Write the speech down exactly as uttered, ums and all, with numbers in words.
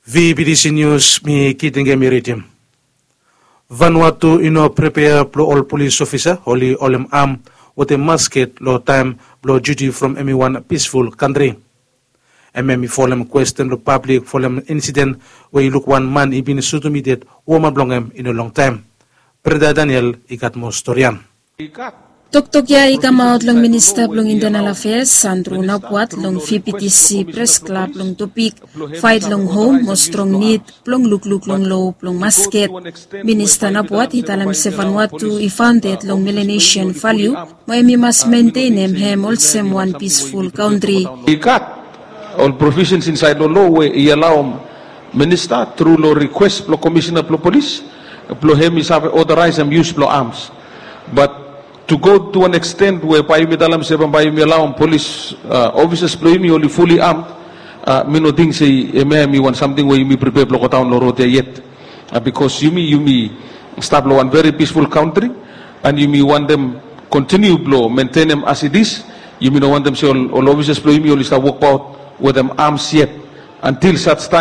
Vbtc News, mi Kitingemi ridim. Vanuatu i no prepea blong ol polis ofisa oli holem am wetem masket long taem blong diuti from hemi wan pisful kantri. Hemia i folem kwesten blong pablik folem insiden we i luk wan man i bin sutum i ded woman blong hem i no longtaem. Brenda Daniel i gat moa stori ya. Toktok ya i kamaot long Minista blong Intenal Afeas, Sandro Napuat, long Vbtc Pres Klab long topik Faet long Hom mo Strong Nid blong Lukluk long Lo blong Masket. Minista Napuat i talem se Vanuatu i faonded long Melanesian valiu, mo hemi mas mentenem hem olsem wan pisful kantri. I gat ol provisions insaed long lo we i alaom minista tru long rikwes blong komisina blong polis blong hem i save otoraesem yus blong ams. Bat to go to an eksten we bae yumi talem se bambae yumi alaom polis ofisas blong yumi oli fuli am, mi no ting se hemia hemi wan samting we yumi pripea blong godaon long rod ya yet. Bikos yumi yumi stap long wan veri pisful kantri, an yumi wantem kontiniu blong mentenem as it is. Yumi no wantem se ol ofisas blong yumi oli stap wokbaot wetem ams yet, antil saj taem